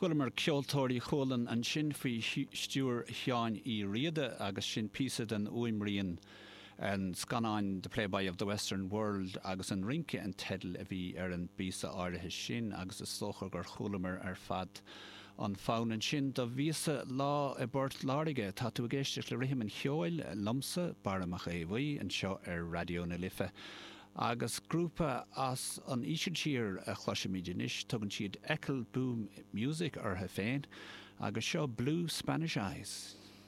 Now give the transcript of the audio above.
Chualamar Ceoltóirí Chualann ansin faoi stiúir Sheáin Uí Riada agus sin píosa den fhuaimrian an scannáin The Playboy of the Western World agus An Rince an teideal a bhí ar an bpíosa áirithe sin agus is dócha gur chualamar ar fad an fonn ansin Do bhíos-sa lá i bPort Láirge. Tá tú ag éisteacht le Rithim an Cheoil liomsa, Barra Mac Aodha Bhuí, anseo ar Raidió na Life. Agus grúpa as an Ísiltír a chloisfimid anois, tugann siad Ekkelboom Music orthu féin, agus seo Blue Spanish Eyes.